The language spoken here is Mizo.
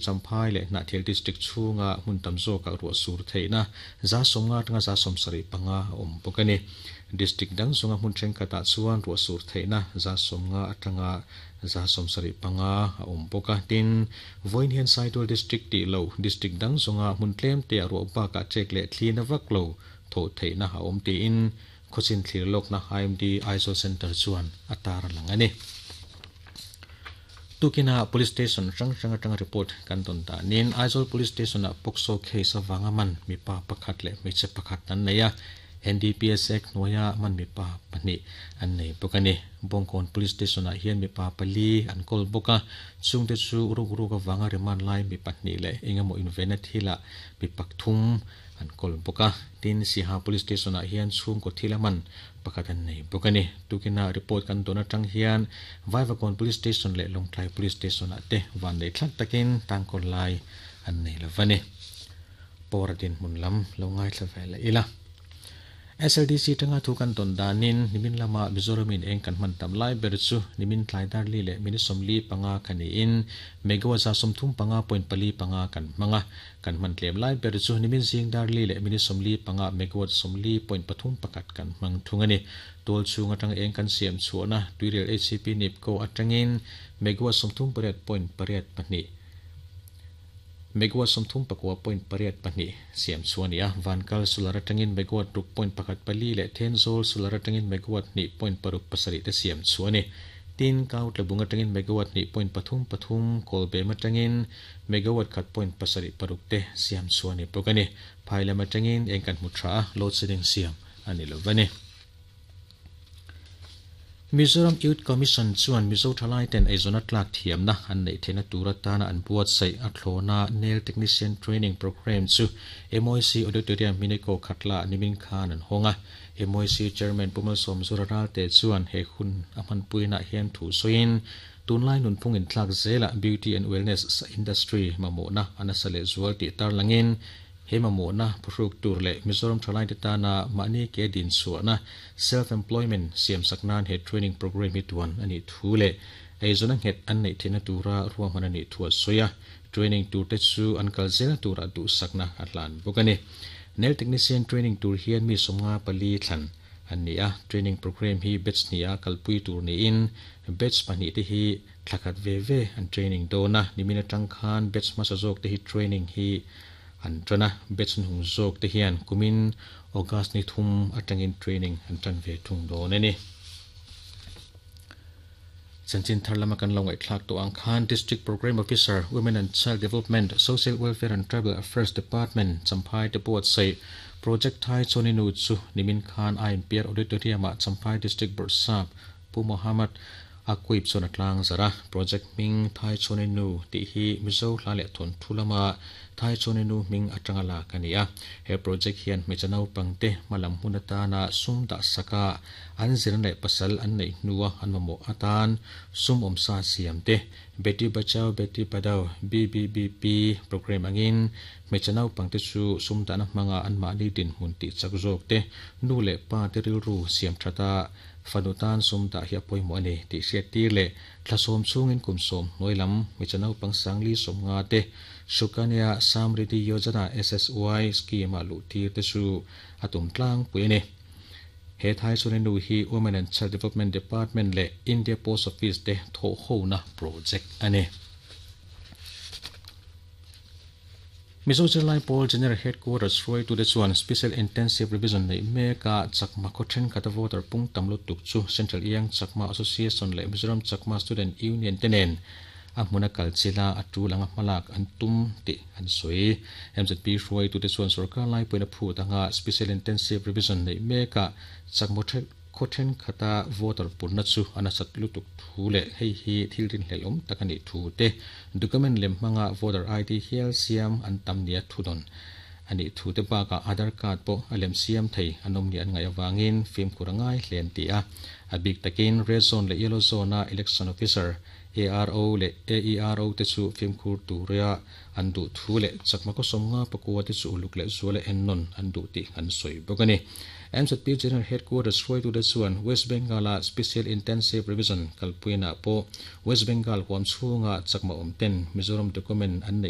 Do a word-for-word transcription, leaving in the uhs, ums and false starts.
Champhai leh Hnahthial District chhunga hmun tam zawkah ruah sur theihna za sawmnga atanga za sawmsarih panga a awm bawk a ni. District dang zawnga hmun thenkhatah chuan ruah sur theihna za sawmnga atanga za sawmsarih panga a awm bawk a. Tin, vawiin hian Saitual District tih lo District dang zawnga hmun tlem te ah ruah bakah ṭek leh thlina vak lo thawh theihna a awm tiin khawchin thlir lawkna I M D Aizawl Centre chuan a tar lang a ni. Tukina Police Station hrang hrang atanga report kan tawn danin Aizawl Police Station ah POCSO case awanga man mipa pakhat leh hmeichhe pakhat an nei a, N D P S Act hnuaia man mipa pahnih an nei bawk a ni. Bawngkawn Police Station ah hian mipa pali an kawl bawk a, chungte chu ruk ruk awanga remand lai mi pahnih leh engemaw invenna thilah mi pakthum an kawl bawk a. Tin, Siha Police Station ah hian chhungkaw thil a man pakhat an nei bawk a ni. Tukina report kan tawn atang hian Vaivakawn Police Station leh Lawngtlai Police Station ah te van nei thlak takin tangkawl lai an nei lo va ni. Pawra dinhmun lam lo ngaithla ve leh ila. S L D C tanga thu kan tawn danin nimin lama Mizoramin eng kan hman tam lai ber chu nimin tlai darli leh minute sawmli panga kan niin megawatt za sawmthum panga point pali panga kan hmanga kan hman tlem lai ber chu nimin zing darli leh minute sawmli panga megawatt sawmli point pathum pakhat kan hmang thung a ni. Tual chhung atanga eng kan siam chhuahna tuirial H C P Nipco atangin megawatt sawmthum pariat point pariat pahnih megawatt sawmthum pakua point pariat pahnih siam chuan ni a. Vankal solar atangin megawatt ruk point pakhat pali leh Thenzawl solar atangin megawatt hnih point paruk pasarih te siam chuan ni. Tin, kau tlabung atangin megawatt hnih point pathum pathum kawlbem atangin megawatt khat point pasarih paruk te siam chuan ni bawk a ni. Phailam atangin eng kan hmu tha a, load shedding siam a ni lo va ni. Mizoram Youth Commission chuan Mizo thalai ten eizawn tlak thiamna an nei theihna tur atana an buatsaih a thlawna Nail Technician Training Program chu M I C Auditorium Mineko Khatla nimin khan an hawnga. M I C Chairman Pumal Sawmzura Ralte chuan he hun a hmanpuina hian thu sawiin tunlai nunphung in tlak zela beauty and wellness industry mamawhna anasa leh zual tih tarlangin he mamawhna phuhruk tur leh Mizoram thalai te tana mahni ke din chhuahna self employment siam saknan he training program hi tuan ani thu leh eizawn a nghet an nei theihna tura ruahman ani thu a sawi a. Training tur te chu an kal zel tura duh sakna a hlan bawk a ni. Nail technician training tur hian mi sawmnga pali thlan an ni a. Training program hi batch hnih a kalpui tur niin batch pahnih te hi thlakhat ve ve an training dawn a. Nimin atang khan batch hmasa zawk te hi training hi an tana batch hung zawk te hian kumin August ni thum atangin training an tan ve thung dawn a ni. Chanchin thar lama kan lo ngai thlak to ang khan District Program Officer Women and Child Development Social Welfare and Tribal Affairs Department Champhai te buatsaih Project Thai Choninu chu nimin khan I M P R Auditorium ah Champhai District Bawrhsap Pu Mohammed Akuip chuan a tlang zara. Project hming Thai Choninu tih hi Mizo hla leh thawn thu lama Thai Choninu hming atanga lak a ni a. He project hian hmeichhe naupangte hmalam hun atana sum dah saka an zirna leh pasal an neih hnua an mamawh atan sum awmsa siam te Beti Bachao Beti Padhao B B B P program angin hmeichhe naupangte chu sum dahna hmanga an mahni dinhmun tih chak zawk te nu leh pa te rilru siam thata fanu tan sum dah hi a pawimawh a ni tih hriat tir leh thlasawm chungin kum sawm hnuai lam hmeichhe naupang sangli sawmnga te Sukanya Samriddhi Yojana S S Y scheme a luh tir te chu a tum tlang pui a ni. He Thai Choninu hi Women and Child Development Department leh India Post Office te thawh hona project a ni. Mizo Zirlai Pawl General Headquarters hruaitu te chuan Special Intensive Revision nei meka Chakma khaw thenkhat a voter pung tam lutuk chu Central Iang Chakma Association leh Mizoram Chakma Student Union te nen a hmuna kal chila a tul anga hmalak an tum tih an sawi. M Z P hruaitu te chuan sarkar lai puina phut anga Special Intensive Revision nei meka Chakma khaw thenkhat a voter punna chu an asat lutuk thu leh hei hi thil rin hlel awm tak ani thu te document lem hmanga voter I D hial siam an tam nia thu dawn ani thu te baka Aadhaar card pawh a lem siam thei an awm ni an ngai awangin fimkhur a ngai hlen ti a. A bik takin red zone leh yellow zone a election officer A R O leh A E R O te chu fimkhur turia an duh thu leh chakma khaw sawmnga pakua te chu uluk leh zual leh ennawn an duh tih an sawi bawk a ni. M Z P General Headquarters hruaitu te chuan West Bengal a Special Intensive Revision kalpuina pawh West Bengal huam chhunga chakma awm ten Mizoram document an nei